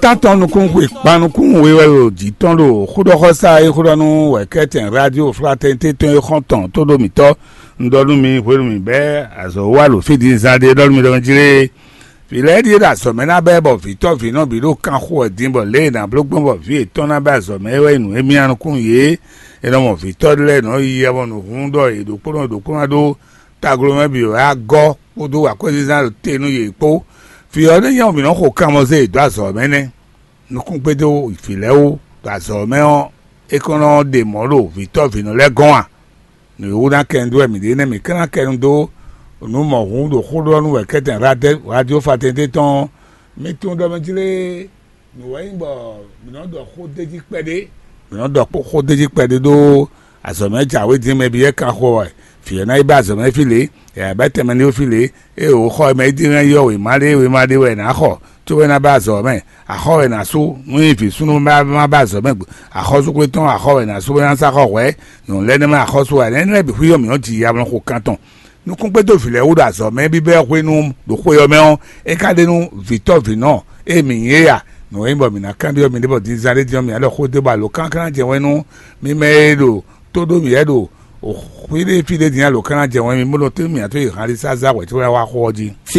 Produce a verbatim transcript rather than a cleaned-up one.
Tántɔn nukún xwe kpan nukún we wɛ ɖo jǐ tɔn ɖo xóɖɔxɔsá e xó ɖɔ nú wɛ̌kɛ́tɛn rádio Fratɛnité tɔn e xɔ́n tɔn tó ɖo mǐtɔn. Un ɖɔ nú mi hwenu mǐ bɛ́ azɔ̌ wa ɖo fí din zán ɖé ɖɔ nú mi ɖɔ jlé. Vǐ lɛ́ɛ ɖíe ɖo azɔ̌ mɛ ná bɛ́ bɔ vǐtɔ́ vǐnɔ bǐ ɖo kan xo wɛ din bɔ lě e è nǎ bló gbɔn bɔ vǐ yětɔn ná bɛ́ azɔ̌ mɛ é wɛ nyí nǔ e myá nukún yě. È nɔ mɔ vǐtɔ́ lɛ́ɛ nɔ yi yɛ mɔ nǔhún ɖɔ yě ɖokpónɔ ɖokpónɔ ɖó taglo mɛ bǐ wɛ á gɔ́ kpódó akwɛ́zínzán ɖo te nú yě kpó. Vǐ ɔ́ nɛ́ nyí ɔ́, mǐ nɔ́ xo kanmɔ zé yě dó azɔ̌ mɛ nɛ́. Nukúngbédó vǐ lɛ́ɛ wú ɖo azɔ̌ mɛ ɔ́, é kɔn nɔ ɖe mɔ̌ ɖo vǐtɔ́ vǐnɔ lɛ́ɛ gɔ́n a? Nǔ e wú ná kɛ nu dó wɛ mǐ ɖe nɛ́, mǐ ka ná kɛ nu dó nǔ mɔ̌hun ɖo xó ɖɔ nú wɛ kɛ́tɛn radio Fraternité tɔn ɔ́. Mi tunwun ɖɔ mɛ jlé nǔ wɛ nyí bɔ mǐ nɔ ɖɔ xó d'é jí kpɛɖé. Mǐ nɔ ɖɔ xó d'é jí kpɛɖé ɖó azɔ̌ mɛ jǎwe dín mɛ byɔ́ kan xo wɛ. Vǐ ɔ́ ná yi bɛ́ azɔ̌ mɛ fí lě, yǎ bɛ́ tɛnmɛ ní fí lě. Ée wǒ xɔ e mɛ é dín hɛn yɔ wěma ɖé wěma ɖé wɛ è nǎ xɔ, cóbɔ é ná bɛ́ azɔ̌ mɛ. Axɔ́ wɛ è nǎ sú nú nyi vǐ súnnu ma ma bɛ́ azɔ̌ mɛ. Axɔ́súgbé tɔn axɔ́ wɛ è nǎ sú bó ná sá xɔ hwɛ̌. Nyɔ̌nu lɛ́ɛ nɛ́ mɛ axɔ́sú wɛ, énɛ́ lɛ́ɛ bǐ xwí ɔ́ mǐ nɔ́ ji ya mlɔ xo kan tɔn. Nukúngbédó vǐ lɛ́ɛ wú ɖo azɔ̌ mɛ bíbɛ́ hwenu ɖo xwe ɔ́ mɛ ɔ́, é ka ɖe nú vǐtɔ́ vǐnɔ e mǐ nyí é a? Nǔ e nyí bɔ mǐ ná kanbyɔ́ miɖée bɔ dinzán ɖé din ɔ́, mǐ ná ɖɔ xó dó bɔ alo kánkán jɛ wɛn nú mi mɛ e ɖo tó ɖó mǐ wɛ ɖo xwíɖée fí ɖé din alo kán ná jɛ wɛn mi bó nɔ tó mǐ ná tó yi hanlísázá hwɛ̌ cóbɔ ná wá xó ɔ́ jí.